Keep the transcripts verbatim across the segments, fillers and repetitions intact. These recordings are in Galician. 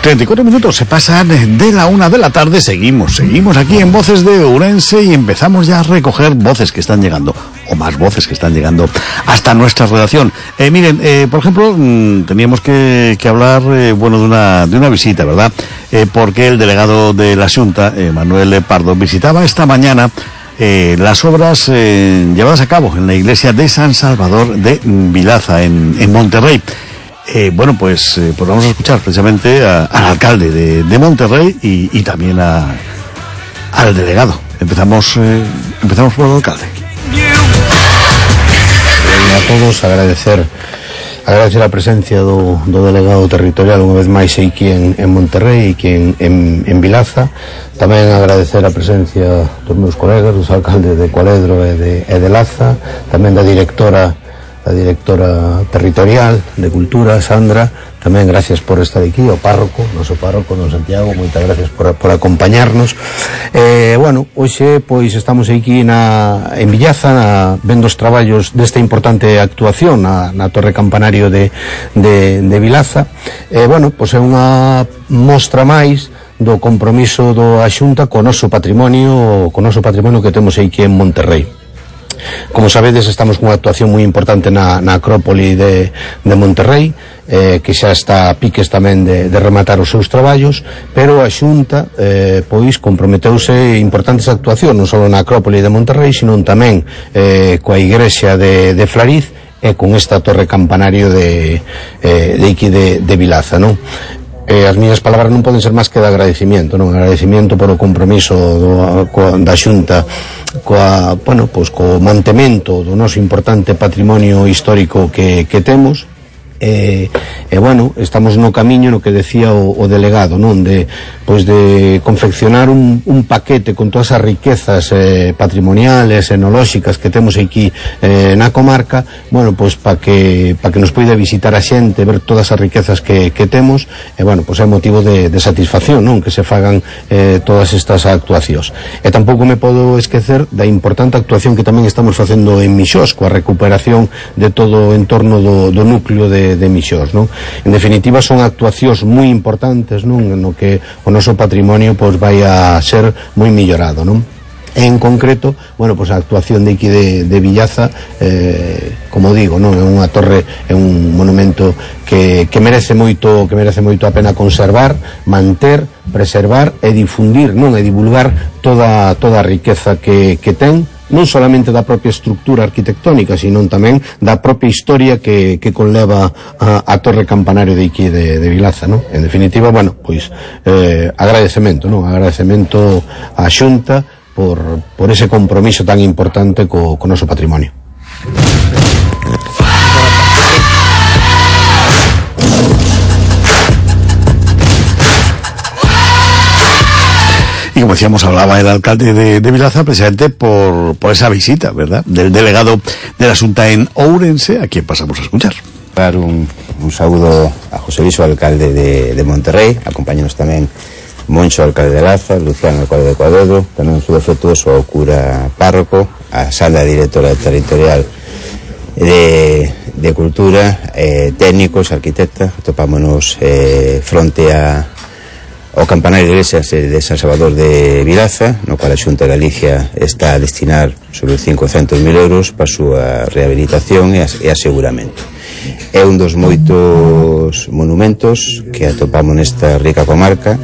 treinta y cuatro minutos se pasan de la una de la tarde. Seguimos, seguimos aquí en Voces de Ourense y empezamos ya a recoger voces que están llegando, o más voces que están llegando hasta nuestra redacción. Eh, miren, eh, por ejemplo, mmm, teníamos que, que hablar, eh, bueno, de una, de una visita, ¿verdad? Eh, porque el delegado de la Xunta, eh, Manuel Pardo, visitaba esta mañana eh, las obras eh, llevadas a cabo en la iglesia de San Salvador de Vilaza, en, en Monterrey. Eh, bueno, pues, eh, pues vamos a escuchar precisamente a, al alcalde de, de Monterrey y, y también a, al delegado. Empezamos, eh, empezamos por el alcalde. A todos agradecer agradecer a presencia do, do delegado territorial unha vez máis aquí en, en Monterrey e aquí en, en, en Vilaza. Tamén agradecer a presencia dos meus colegas, dos alcaldes de Cualedro e de, e de Laza, tamén da directora a directora territorial de Cultura, Sandra. Tamén gracias por estar aquí, o párroco, noso párroco, don Santiago, moitas gracias por, por acompañarnos. Eh, bueno, hoxe pois estamos aquí na, en Villaza, na, vendo os traballos desta importante actuación na, na Torre Campanario de, de, de Vilaza. Eh, bueno, pois é unha mostra máis do compromiso do a Xunta co noso patrimonio, co noso patrimonio que temos aquí en Monterrey. Como sabedes, estamos cunha actuación moi importante na, na Acrópoli de, de Monterrey, eh, que xa está a piques tamén de, de rematar os seus traballos, pero a Xunta eh, pois comprometeuse importantes actuacións non só na Acrópoli de Monterrey, sino tamén eh, coa igrexa de, de Flariz e con esta torre campanario de, eh, de aquí de, de Vilaza, non? Eh, as miñas palabras non poden ser máis que de agradecimiento, non? Agradecimiento por o compromiso do, co, da Xunta coa, bueno, pois co mantemento do noso importante patrimonio histórico que, que temos. E, e bueno, estamos no camiño no que decía o, o delegado, non? De, pois de confeccionar un, un paquete con todas as riquezas eh, patrimoniales, enolóxicas que temos aquí eh, na comarca, bueno, pois para que, pa que nos poida visitar a xente, ver todas as riquezas que, que temos, e bueno, pois é motivo de, de satisfacción, non? Que se fagan eh, todas estas actuacións. E tampouco me podo esquecer da importante actuación que tamén estamos facendo en Mixós, coa recuperación de todo o entorno do, do núcleo de de Mixós, non? En definitiva son actuacións moi importantes, non? No que o noso patrimonio pois vai a ser moi millorado, non? En concreto, bueno, pois a actuación de aquí de, de Villaza, eh, como digo, non? É unha torre, é un monumento que, que merece moito, que merece moito a pena conservar, manter, preservar e difundir, non? E divulgar toda toda a riqueza que, que ten, non solamente da propia estructura arquitectónica, sino tamén da propia historia que, que conleva a, a Torre Campanario de aquí de, de Vilaza, non? En definitiva, bueno, pois eh, agradecemento, non? Agradecemento á Xunta por, por ese compromiso tan importante co, co noso patrimonio. Y como decíamos, hablaba el alcalde de, de Vilaza precisamente por, por esa visita, ¿verdad?, del delegado de la Xunta en Ourense, a quien pasamos a escuchar. Dar un, un saúdo a José Luis, alcalde de, de Monterrey, acompáñanos tamén Moncho, alcalde de Laza, Luciano, alcalde de Cualedro, tamén un saúdo afectuoso ao cura párroco, a Sandra, directora territorial de, de Cultura, eh, técnicos, arquitecta. Topámonos eh, fronte a o campanario de iglesia de San Salvador de Vilaza, no cual a Xunta de Galicia está a destinar sobre cincocentos mil euros para a súa rehabilitación e aseguramento. É un dos moitos monumentos que atopamos nesta rica comarca,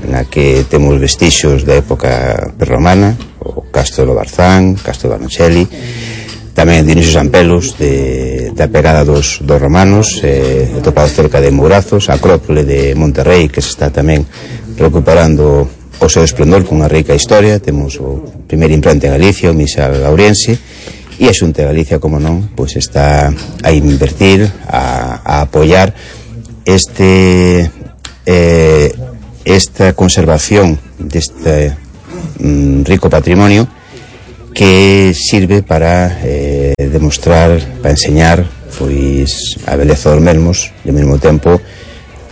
na que temos vestixios da época prerromana, o Castro do Barzán, Castro de Barnachelli, tamén de Dionisio Sampelos, de, da pegada dos, dos romanos, eh, atopado cerca de Mourazos, a Acrópole de Monterrey, que se está tamén recuperando o seu esplendor con unha rica historia. Temos o primeiro implante en Galicia, o Misal Lauriense, e a Xunta de Galicia, como non, pois está a invertir, a, a apoiar este eh, esta conservación deste mm, rico patrimonio que sirve para eh, demostrar, para enseñar pois a beleza dos mesmos, e ao mesmo tempo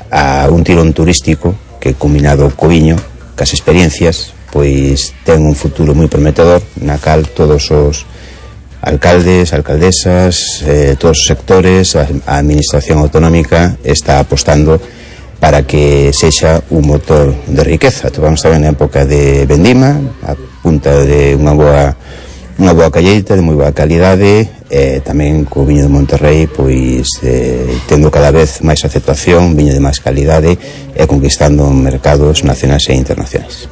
a un tirón turístico que, combinado co viño, cas experiencias, pois ten un futuro moi prometedor, na cal todos os alcaldes, alcaldesas, eh, todos os sectores, a, a administración autonómica está apostando para que sexa un motor de riqueza. Vamos tamén na época de vendima, a punta de unha boa unha boa calleita de moi boa calidade, e tamén co viño de Monterrey pois eh, tendo cada vez máis aceptación, viño de máis calidade e conquistando mercados nacionais e internacionais.